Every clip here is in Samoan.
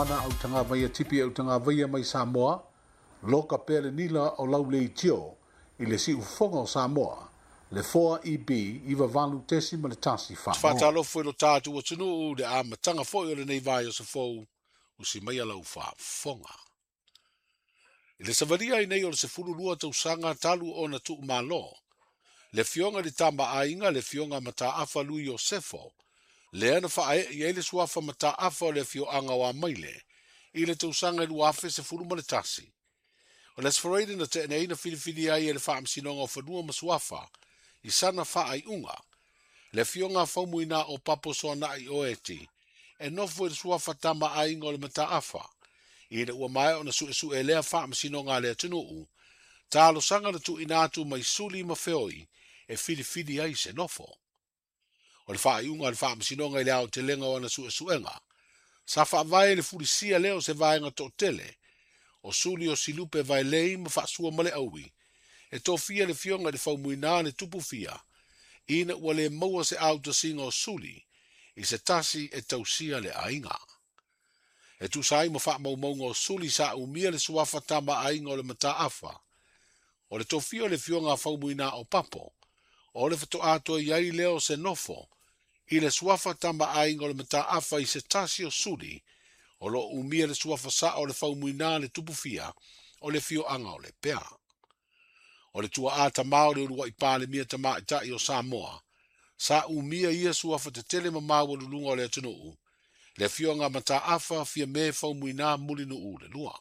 Ana au tagavaia tipi au tagavaia mai Samoa, loka pea le nila o lau leitio i le siufofoga o Samoa, le 4EB 98.1 Fagoa. Faatalofa i lo tatou atunuu le amataga foi o lenei vaiaso fou usi mai lau faafofoga. I le savalia ai nei o le 12 tausaga talu ona tuumalo, le afioga i le Tama-a-Aiga, le afioga Mataafa Lui Iosefo, lea na faaee i ai le suafa Mataafa o le afioaga o Amaile i le tausaga 2011. O le Aso Faraile na tea nei na filifili ai e le Faamasinoga o Fanua ma Suafa i sana faaiuga, le afioga Faumuina o Papo Soanai Oeti e nofo i le suafa Tama-a-Aiga o le Mataafa, ina ua maea ona suesue lea faamasinoga a le atunuu, talosaga na tuuina atu mai suli ma feoi e filifili ai se nofo. O le faaiuga a le faamasinoga i le aotelega o ana suesuega, sa faavae le fulisia lea o se vaega toatele, o suli o Silupe Vaelei ma Faasua ma le Aui, e tofia le afioga i le Faumuina le Tupufia, ina ua le maua se autasiga o suli i se tasi e tausia le aiga. E tusa ai ma faamaumauga o suli sa umia le suafa Tama-a-Aiga o le Mataafa, o le tofia o le afioga Faumuina o Papo, o le faatoa toe i ai lea o se nofo i le suafa Tama-a-Aiga o le Mataafa i se tasi o suli o lo o umia le suafa sao o le Faumuina le Tupufia o le afioaga o Lepea. O le tuaa tamā o le uluai Palemia tamaitai o Samoa, sa umia ia suafa tetele ma maualuluga o le atunuu, le afioga Mataafa Fiame Faumuina Mulinuu le lua.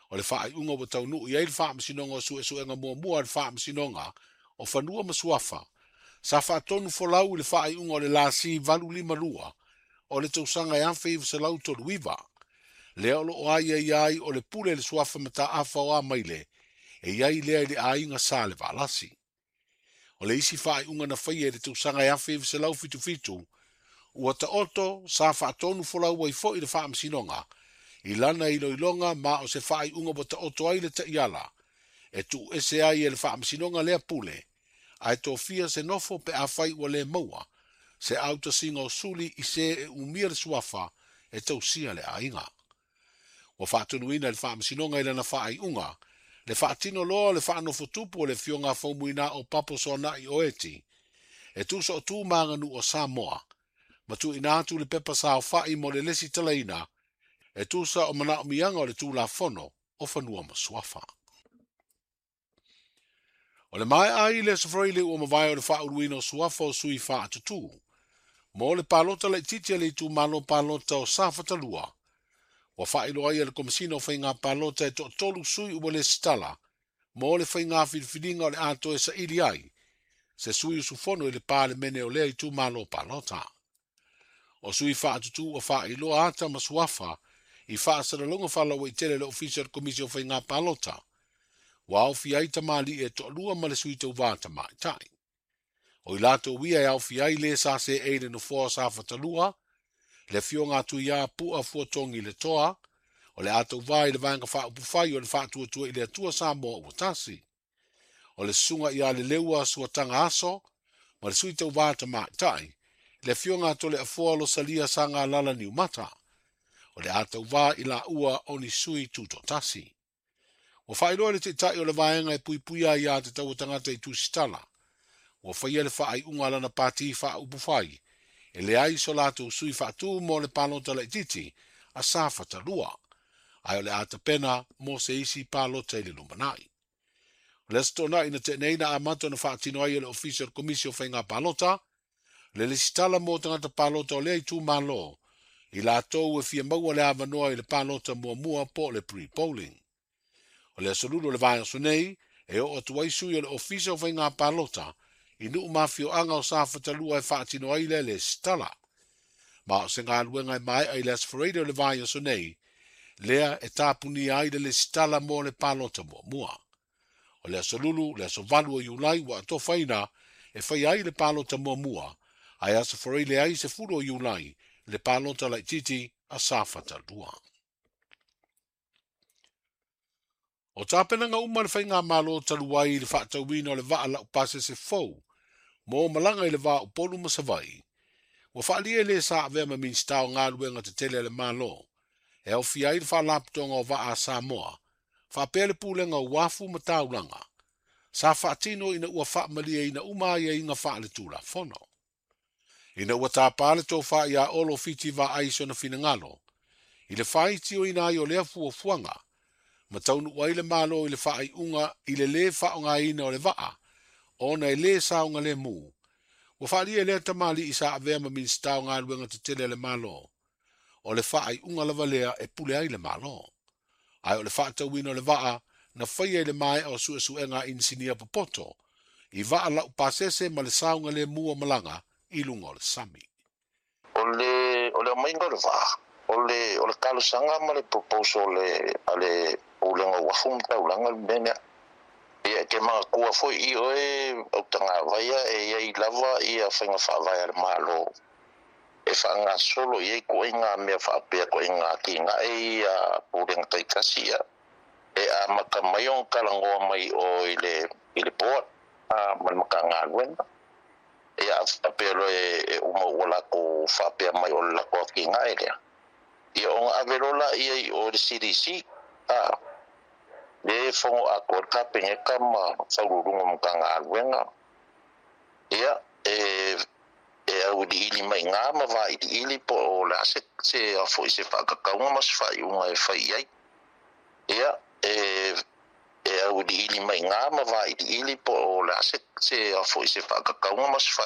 O le faaiuga ua taunuu i ai le faamasinoga o suesuega muamua a le Faamasinoga o Fanua ma Suafa, sa faatonu folau i le faaiuga o le lasi 852 o le tausaga e 1939, lea o lo o aiaia ai o le pule le suafa Mataafa o Amaile e i ai lea i le aiga sa le Valasi. O le isi faaiuga na faia i le tausaga e 1977, ua taoto sa faatonu folau ai foi le faamasinoga i lana iloiloga ma o se faaiuga ua taoto ai le taiala e tuuese ai e le faamasinoga lea pule, ae tofia se nofo pe afai ua le maua se autasiga o suli i se e umia le suafa e tausia le aiga. Ua faatonuina le faamasinoga i lana faaiuga le faatino loa o le faanofotupu o le afioga Faumuina o Papo Soanai Oeti e tusa o tu ma aganuu o Samoa, ma tuuina atu le pepa saofai mo le lesitalaina e tusa o manaomiaga o le Tulafono o Fanua ma Suafa. O le maea ai le Aso Faraile ua mavae o le faauluina o suafa o sui faatutū mo le palota laitiiti a le itumalo palota o Safatalua, ua faailoa ai e le Komesina o Faiga Palota e toatolu sui ua lesitala mo le faiga filifiliga o le a toe saili ai se sui usufono i le Palemene o lea itumalo palota. O sui faatutū ua faailoa ata ma suafa i faasalalauga faalauaitele le Ofisa o le Komisi o Faiga Palota, ua aofia ai tamalii e toalua ma le sui tauvā tamaitai. O i latou ia e aofia ai le sa seei le nofoa o Safatalua, le afioga Tuiā Pua Fuatogi le Toa, o le a tauvā i le vaega faaupufai o le Faatuatua i le Atua Samoa ua tasi. O le susuga ia Leleua Suataga Aso ma le sui tauvā tamaitai, le afioga Toleafoa Losalia Sagalala Niumata, o le a tauvā i laua o ni sui tutoatasi. Ua faailoa le taitai o le vaega e puipuia ai ia te taua tagata i tusitala, ua faia le faaiuga a lana pati faaupufai e leai so latou sui faatū mo le palota laitiiti a Safatalua, ae o le a tapena mo se isi palota i le lumanai. O le Aso Toonai na tea nei na amata ona faatino ai e le Ofisa o le Komisi o Faiga Palota le lesitala mo tagata palota o lea itumalo i latou e fia maua le avanoa i le palota muamua po o le pre-polling. O le aso Lulu o le vaiaso nei e oo atu ai sui o le Ofisa o Faiga Palota i nuu ma afioaga o Safatalua e faatino ai lea lesitala. Ma o se galuega e maea i le Aso Faraile o le vaiaso nei, lea e tapunia ai le lesitala mo le palota muamua. O le Aso Lulu, le aso 8 o Iulai ua atofaina e faia ai le palota muamua, ae Aso Faraile ai 10 o Iulai le palota laitiiti a Safatalua. O tapenaga uma le faigamalo talu ai i le faatauina o le vaa laupasese fou mo malaga i le va o Upolu ma Savaii, ua faaalia e le sa avea ma Minisita o Galuega Tetele a le Malo, E aofia ai le Faalapotopotoga o Vaa a Samoa, faapea le Pulega o Uafu ma Taulaga, sa faatino ina ua faamalieina uma aiaiga faaletulafono. Ina ua tapa le tofa ia Olo Fiti Vaai sona finagalo, i le faaitioina ai o lea fuafuaga, ma taunuu ai le Malo i le faaiuga i le lē faaaogaina o le vaa, ona e lē saogalemu, ua faaalia e lea tamalii sa avea ma Minisita o Galuega Tetele a le Malo, o le faaiuga lava lea e pule ai le Malo. Ae o le faatauina o le vaa na faia i le maea o suesuega a inisinia popoto, i vaa laupasese ma le saogalemu o malaga i luga o le sami. O le aumaiga o le vaa, o le talosaga ma le proposal a le Pulega o Uafu ma Taulaga le mea lea. Ia e te manatua foi i oe autagavaia e iai lava ia faiga faavae a le Malo e faagasolo i ai ituaiga mea faapea, ituaiga atinae ia pulega taitasi ia. E amata mai ona talanoa mai o i le board ma le Matagaluega. Ia faapea loa e uma ua latou faapea mai o le latou atinae lea. Ia ona ave loa laia i o i le CDC. Le fono atoa le Kapeneta ma Faauluuluga o Matagaluega. Ia e auiliili mai iga ma vailiili po o le a se foi se faatatauga ma se faaiuga e fai i ai. Ia e auiliili mai iga ma vailiili po o le a se foi se faatatauga ma se faaiuga.